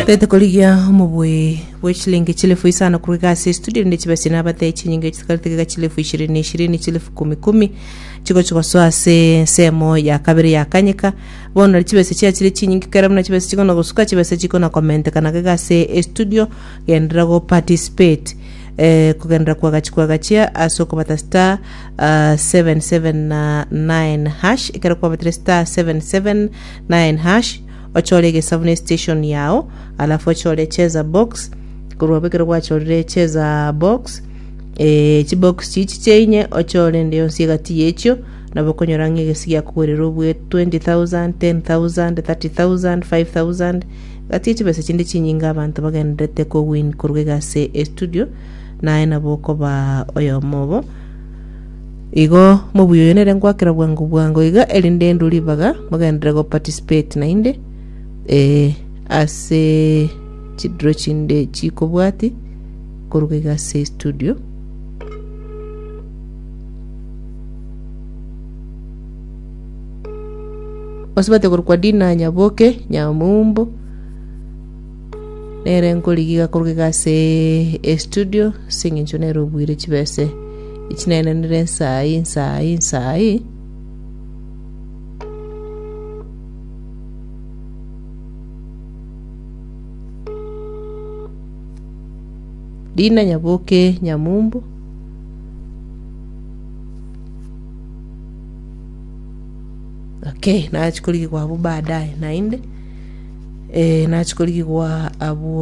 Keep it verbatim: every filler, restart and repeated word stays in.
Tete korigia omobui bwe chilingi chilefu isano korwa ase studio rinde chibese nabate chinyinge chikaritega chilefu ishirini ishirini, chilefu kumi kumi chigochi gosoa ase ensemo ya kabere ya kanyeka. Bono chibese chiachire chinyinge kera buna chibese chikona gosuka, chibese chikona komentekana gega ase estudio. Genderera go participate, eh, kogendera kwagachi kwagachia ase okobata star uh, seven seven nine hash. Ekero kwabatire star seven seven nine hash, ochore egesabu ne station yao, alafu ochore cheza box. Korwa abwo ekero gwachorire cheza box, eh, chibox chichi chiainye, ochore ende yonsi egati yechio, nabo okonyora ng'a egesi giakogorera obwe twenty thousand, ten thousand, thirty thousand, five thousand, gati chibesa chinde chinyinge abanto bagenderete kowin korwa iga ase estudio, naye nabo okoba oyomo obo. Igo mobuya oyo nere ngwakera bwango bwango iga, erinde endu ribaga mogenderere go participate nainde eh, ase chidro chinde chikobwati koruga iga ase studio. Osibate korokwa Dina Nyaboke Nyamumbo nere nkorigiga koruga iga ase estudio ase eng'encho nere obuire chibese echinenenere nsai nsai nsai. Dina Nyaboke Nyamumbo. Okay, nachi korigigwa abwo baadaye nainde, eh, nachi korigigwa abwo.